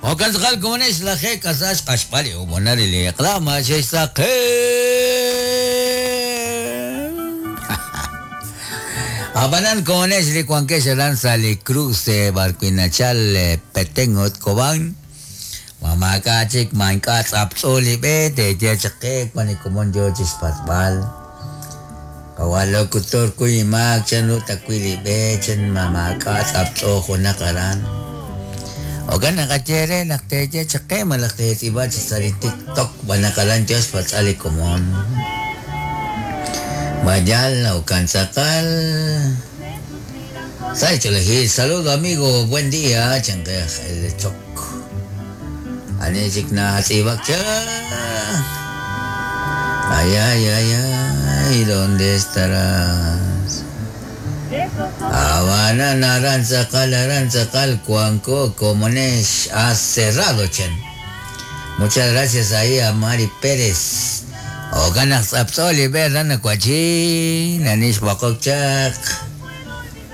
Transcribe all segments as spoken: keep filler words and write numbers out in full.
Okan tzakal komonex laje kasax qaxpali umonari li iqlama xexsaqe. Abanan komonex li kuankex aran sali cruce barquinachal Petén ut Cobán. Mamaka chik manka tz'aptz'oli be te yechaqe kuan komon yo chispatbal. Kawalokutor kuyimak chan utakwili be chan mamaka tz'aptz'o junak aran. Ogan nakachere nakteche chake malakte iba sa TikTok banakalan Diyos patsali komon. Mayal okan sakal. Sai saludo amigo, buen día, chanque el chok. Ani chik na hatibak cha. Ay ay ay ay, ¿dónde estarás? Habana naranza cal aranza cal cuanco comonesh ha cerrado chen. Muchas gracias ahí a Mari Pérez. O ganas apsoli ver cuachi nanish bakokchak.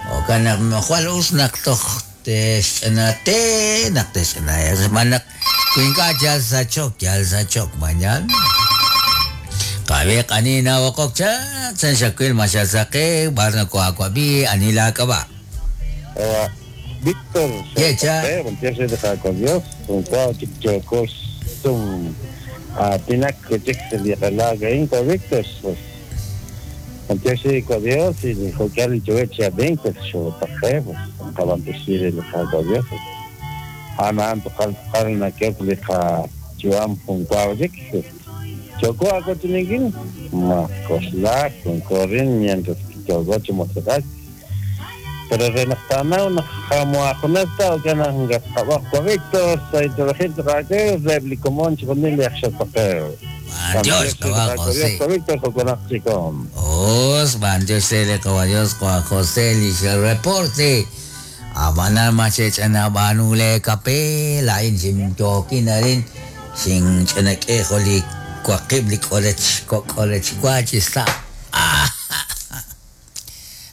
O ganas mojal usnak toch te nak te manak kuinka yal sachok yal sachok mañan. Kabe kanina wakokchak san shakwil mashasake barna ko akwabi anila kaba. Víctor, Yecha. Dios, Víctor, Dios y dijo que al yo veinte yo pues Dios. Ana pero renaqtana una jamuajunata o kana ngastabajo Víctor saitolajito raquel reblicomón chiconil yaxapaqeo. Dios José. Víctor joconachicom. Os van Dios le caballos con José el reporte. Abanar machech anabanule kape la in toki narin sin chanake joli cuaqibli kolech kolech cuachista.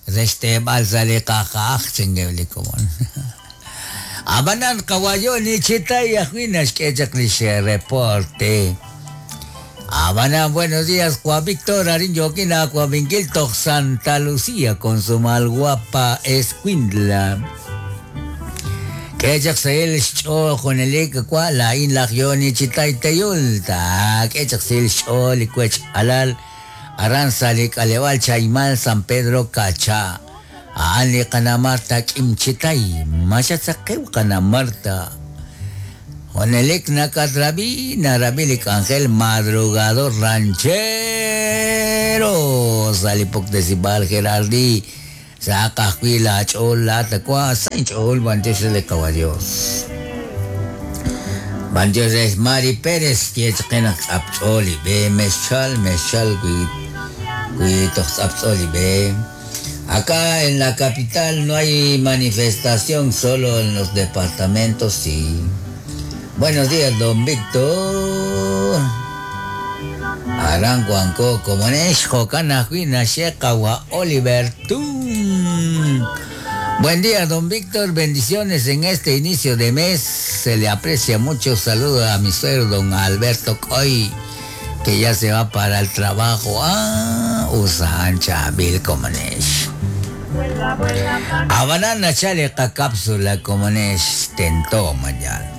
Reste balsale kakak chingebli komon. Abanan kawayo ni chitay ajuinas que reporte. Abanan buenos días Juan Víctor Arin Yoquina Juan Santa Lucía con su mal guapa escuindla. Que jaxel cho con el kwa la in la yoni chitay teyulta. Que jaxel cho licuech alal. Aranza Aleval Chaimal San Pedro Cacha. Ali Kana Marta Kimchitay. Machatzakeu Kana Marta. Onelik Nakatrabi Narabilik Ángel Madrugador Ranchero. Salipok de Sibal Gerardi. Sacajuila Chola Tacua Sancho Bantes de Caballos. Bandios es Mari Pérez, Kiechkenak Apcholi, be Meshal, Meshal, Apcholi, be. Acá en la capital no hay manifestación, solo en los departamentos sí. Buenos días, don Víctor. Aranguanco, Comonesh, Jocana, Juina, Shekawa, Oliver Tun. Buen día, don Víctor. Bendiciones en este inicio de mes. Se le aprecia mucho. Saludo a mi suegro, don Alberto Coy, que ya se va para el trabajo. Ah, usa ancha Bill Comonesh. Abanana chale ka cápsula Comonesh tentó mañana.